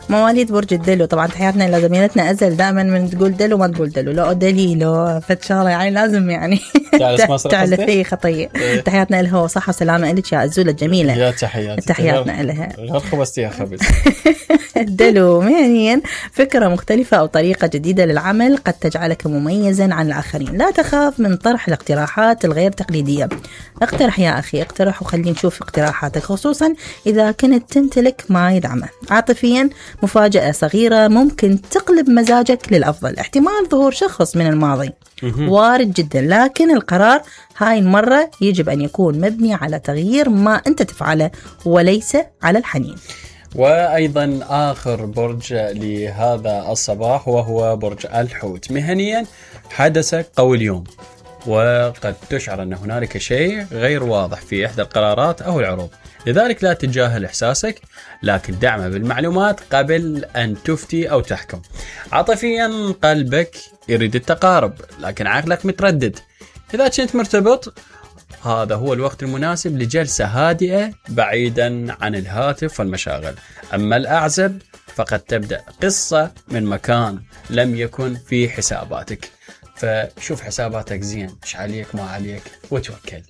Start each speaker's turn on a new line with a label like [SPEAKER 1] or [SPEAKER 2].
[SPEAKER 1] مواليد برج الدلو. طبعا تحياتنا لزميلتنا أزل، دائما من تقول دلو ما تقول دلو، لا دليلو فتشارة يعني لازم يعني تعرفي خطية. تحياتنا لها وصحة وسلامة لك يا أزولة الجميلة.
[SPEAKER 2] يا تحياتنا
[SPEAKER 1] لها.
[SPEAKER 2] غير خبزتيها خبز.
[SPEAKER 1] الدلو مهنيا فكرة مختلفة أو طريقة جديدة للعمل قد تجعلك مميزا عن الآخرين. لا تخاف من طرح الاقتراحات الغير تقليدية. اقترح يا أخي، اقترح وخلينا نشوف اقتراحاتك، خصوصا إذا كنت تمتلك ما يدعمه. عاطفيا مفاجأة صغيرة ممكن تقلب مزاجك للأفضل. احتمال ظهور شخص من الماضي وارد جدا، لكن القرار هاي المرة يجب أن يكون مبني على تغيير ما أنت تفعله وليس على الحنين.
[SPEAKER 2] وأيضا آخر برج لهذا الصباح وهو برج الحوت. مهنيا حدث قوي اليوم، وقد تشعر أن هنالك شيء غير واضح في إحدى القرارات أو العروض، لذلك لا تتجاهل إحساسك، لكن دعمه بالمعلومات قبل أن تفتي أو تحكم. عاطفيا قلبك يريد التقارب، لكن عقلك متردد. إذا كنت مرتبط، هذا هو الوقت المناسب لجلسة هادئة بعيدا عن الهاتف والمشاغل. أما الأعزب فقد تبدأ قصة من مكان لم يكن في حساباتك، فشوف حساباتك زين، إيش عليك ما عليك وتوكل.